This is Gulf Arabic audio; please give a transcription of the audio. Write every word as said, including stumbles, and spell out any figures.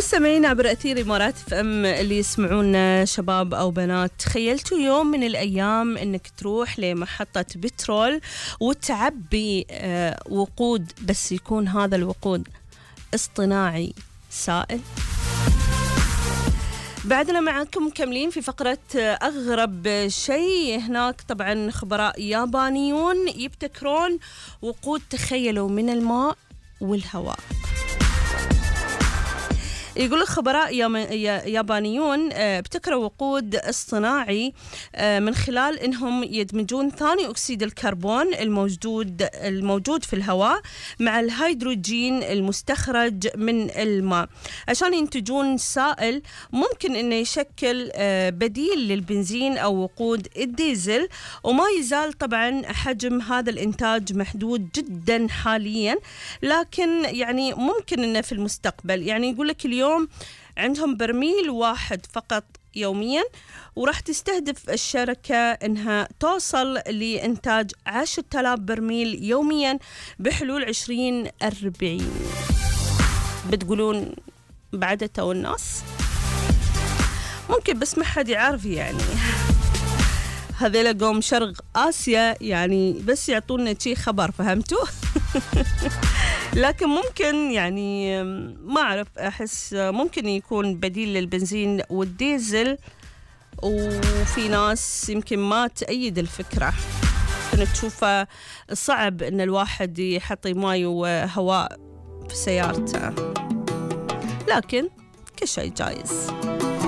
مستمعين عبر أثير إمارات اف ام اللي يسمعونا شباب أو بنات، تخيلتوا يوم من الأيام أنك تروح لمحطة بترول وتعبي آه وقود، بس يكون هذا الوقود اصطناعي سائل؟ بعدنا معكم مكملين في فقرة أغرب شيء. هناك طبعا خبراء يابانيون يبتكرون وقود، تخيلوا، من الماء والهواء. يقول الخبراء يابانيون ابتكروا وقود اصطناعي من خلال انهم يدمجون ثاني اكسيد الكربون الموجود الموجود في الهواء مع الهيدروجين المستخرج من الماء عشان ينتجون سائل ممكن انه يشكل بديل للبنزين او وقود الديزل. وما يزال طبعا حجم هذا الانتاج محدود جدا حاليا، لكن يعني ممكن انه في المستقبل، يعني يقول لك اليوم عندهم برميل واحد فقط يوميا، وراح تستهدف الشركة انها توصل لإنتاج عشرة آلاف برميل يوميا بحلول عشرين أربعين. بتقولون بعدته الناس ممكن، بس ما حد يعرف، يعني هذيلا قوم شرق آسيا يعني بس يعطونا شي خبر، فهمتوا؟ لكن ممكن يعني ما أعرف، أحس ممكن يكون بديل للبنزين والديزل، وفي ناس يمكن ما تأيد الفكرة، كنت تشوفها صعب إن الواحد يحط ماء وهواء في سيارته، لكن كل شيء جايز.